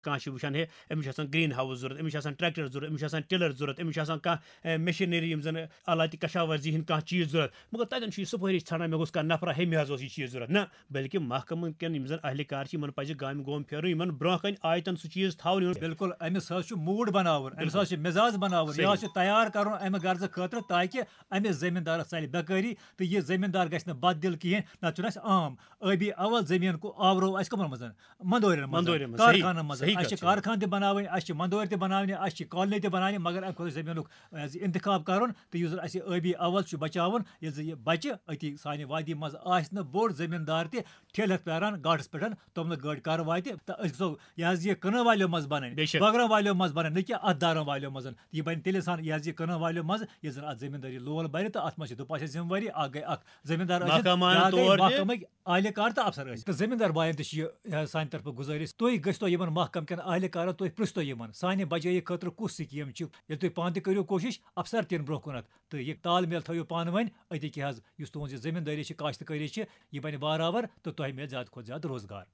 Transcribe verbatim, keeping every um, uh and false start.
کانٛہہ چھُ وٕچھان، ہے، أمِس چھُ آسان گرین ہاوُس ضوٚرتھ، أمِس چھُ آسان ٹریکٹر ضوٚرتھ، أمِس چھُ آسان ٹِلر ضوٚرتھ، أمِس چھُ آسان کانٛہہ، اے، مشینری، یِم زَن آلاتِ کشاورزی ہِنٛدۍ کانٛہہ چیٖز ضوٚرتھ۔ مگر تَتٮ۪ن چھُ یہِ سُفٲرِش ژھانٛڈان، مےٚ گوٚژھ کانٛہہ نفرا، ہے، مےٚ حظ اوس یہِ چیٖز ضوٚرتھ۔ نہ، بلکہِ محکمہٕ کٮ۪ن یِم زَن اہلکار چھِ، یِمَن پَزِ گامہِ گوم پھیرُن، یِمَن برونٛہہ کَنہِ آیہِ تَن سُہ چیٖز تھاوُن۔ یِمَن بِلکُل، أمِس حظ چھُ موٗڈ بَناوُن، أمِس بِلکُل۔ حظ چھُ مِزاز بَناوُن، یہِ صحیح۔ حظ چھُ تیار کَرُن اَمہِ غرضہٕ خٲطرٕ، تاکہِ أمِس زٔمیٖندارَس ژَلہِ بیکٲری تہٕ یہِ زٔمیٖندار گژھِ نہٕ بددِل کِہیٖنۍ۔ نَتہٕ چھُنہٕ اَسہِ عام ٲبی اول زٔمیٖن کو آورو اَسہِ کَمَن منٛز؟ مَندورٮ۪ن منٛز، مَندورٮ۪ن منٛز، صحیح۔ کارخانَن منٛز۔ صحیح اَسہِ چھِ کَتھ چھِ۔ کارخانہٕ تہِ بَناوٕنۍ، اَسہِ چھِ مَندورۍ تہِ بَناونہِ، اَسہِ چھِ کالنی تہِ بَناونہِ، مگر اَمہِ خٲطرٕ چھُ زٔمیٖنُک، اَسہِ اِنتِخاب کَرُن تہٕ یُس زَن اَسہِ ٲبی اول چھُ بَچاوُن، ییٚلہِ زَن یہِ بَچہِ أتی سانہِ وادی منٛز آسہِ نہٕ بوٚڑ زٔمیٖندار تہِ ٹھیلہٕ ہٮ۪تھ پیاران گاٹَس پٮ۪ٹھ توٚملہٕ گٲڑۍ کَرٕ واتہِ تہٕ أسۍ گژھو یہِ حظ یہِ کٕنَن والیو منٛز بَنٕنۍ، بے شک۔ بٲگراوَن والیو منٛز بَنٕنۍ، نہ کہِ اَتھ دارَن والیو منٛز۔ یہِ بَنہِ تیٚلہِ اِنسان یہِ حظ یہِ کٕنَن والیو منٛز، ییٚلہِ زَن اَتھ زٔمیٖندٲری لول بَرِ تہٕ اَتھ منٛز چھِ دُپاسہِ ذِمہٕ وٲری، اَکھ گٔے اَکھ زٔمیٖندار ٲسِن، محکمہٕ بیٛاکھ گٔے طور تہِ۔ محکمٕکۍ اہلکار تہٕ افسر ٲسۍ۔ تہٕ زٔمیٖندار بایَن تہِ چھِ یہِ، یہِ حظ سانہِ طرفہٕ گُزٲرِش، تُہۍ گٔژھتو یِمَن محکمہٕ کٮ۪ن اہلکارَن، تُہۍ پرٛژھتو یِمَن، سانہِ بجٲیی خٲطرٕ کُس سکیٖم چھِ۔ ییٚلہِ تُہۍ پانہٕ تہِ کٔرِو کوٗشِش، افسر تہِ یِن برٛونٛہہ کُنَتھ۔ تہٕ یہِ تال میل تھٲیِو پانہٕ ؤنۍ أتی کہِ حظ، یُس تُہٕنٛز یہِ زٔمیٖندٲری چھِ، کاشتکٲری چھِ، یہِ بَنہِ بارآور تہٕ تۄہہِ میلہِ زیادٕ کھۄتہٕ زیادٕ روزگار۔